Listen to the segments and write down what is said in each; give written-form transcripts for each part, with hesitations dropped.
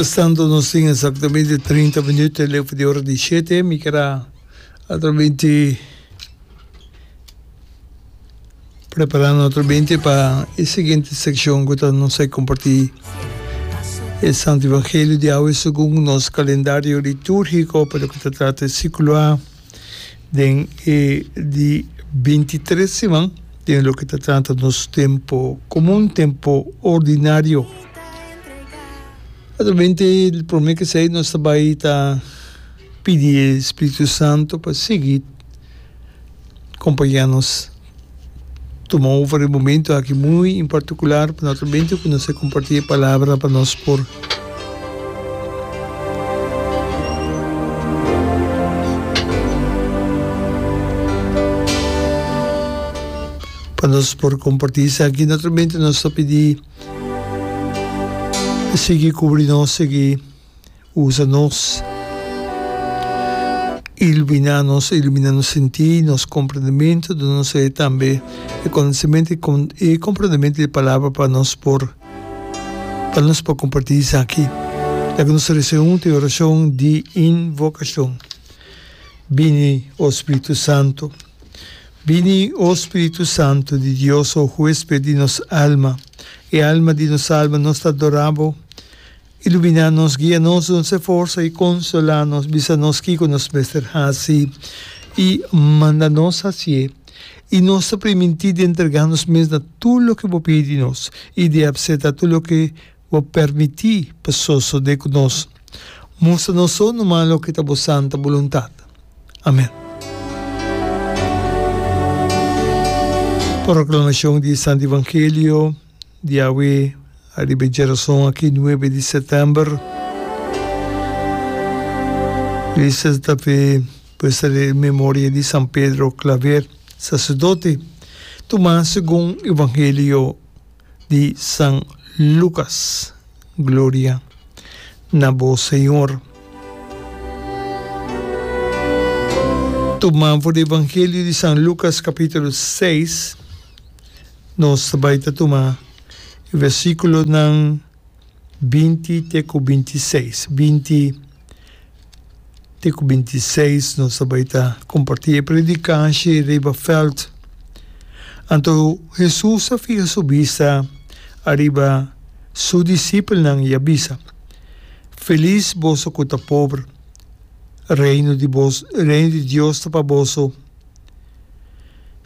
Mientrastanto nos tin exactamente 30 minuut leu for di ora di shete. Mi ker a atrabente prepara naturalmente pa e siguiente seccion cu ta nos a comparti e Santo Evangelio di awe segun nos calendario liturgico pa loke ta trata e ciclo A den e di bintitres siman den loke ta trata nos tempo comun, tempo ordinario. Naturalmente prome cu esey nos ta bay ta pidi e Spiritu Santo pa sigui Compaña nos tuma over e momento aki muy en particular pa naturalmente cu nos a comparti e palabra pa nos por pa nos por comparti esaki. Naturalmente nos ta pidi sigui cubri nos, sigui. Usa nos, iluminá nos, iluminá nos sintí, nos komprendementu, duna nos e tambe e konosementu i komprendementu di e Palabra pa nos por pa nos por kompartí esaki. Laga nos resa huntu e orashon di invokashon. Bini, o Spiritu Santu. Bini, o Spiritu Santu di Dios, o huésped di nos alma, e alma di nos alma, nos ta adorá Bo. Iluminá nos, guia nos, duna e forsa i konsolá nos, bisa nos kiko nos mester hasi i manda nos hasié. I nos ta primintí di entregá nos mes na tur loke bo pidi nos i di apseptá tur loke bo permití pa sosodé ku nos. Mustra nos so numa loke ta bo santa boluntat. Amèn. Proklamashon di e Santu Evangelio. Di awe ariba e djerason aki nuebe di sètèmber, Iglesia ta pe puesta e memoria di San Pedro Claver, saserdote, tumá segun Evangelio di San Lucas. Gloria na bo, Señor. Tumá for di Evangelio di San Lucas capítulo seis. Nos ta bai ta tuma e versíkulonan 20 te ku 26. 20 te ku 26 nos ta bai ta kompartí e predikashi riba vèlt. Anto Hesus a fiha su bista ariba su disipelnan i a bisa, Felis boso ku ta pober, reino di bos, reino di Dios ta pa boso.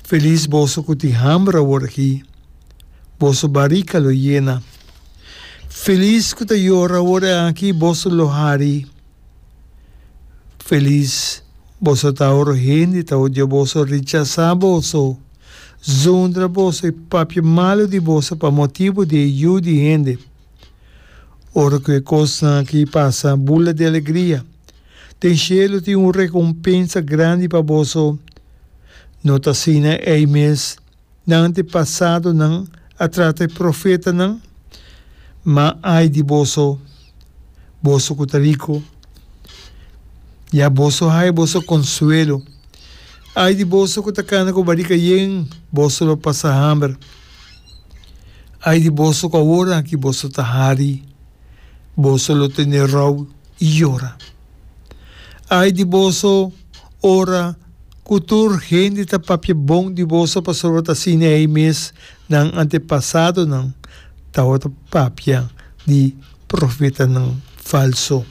Felis boso ku tin hamber awor aki, boso barika lo yena. Felis ku ta yora awor aki, boso lo hari. Felis boso ta ora hende ta odia boso, rechasá boso, zundra boso i papia malu di boso pa motibu di e Yu di hende. Ora ku e kosnan aki pasa, bula di alegria. Den shelu tin un rekompensa grandi pa boso. No ta asina ei mes nan antepasadonan a trata e profetanan? Ma ai di boso, boso ku ta riku! Ya boso haya boso konsuelo. Ai di boso ku ta kana ku barika yen, boso lo pasa hamber. Ai di boso ku awor aki boso ta hari, boso lo tene rou i yora. Ai di boso ora ku tur hende ta papia bon di boso pasobra ta asina ei mes nan antepasadonan tabata papia di profetanan falso.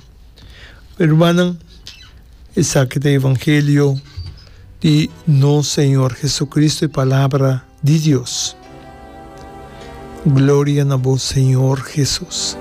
Hermannan, esaki ta evangelio di nos Señor Jesucristo, e palabra di Dios. Gloria na bo Señor Jesus.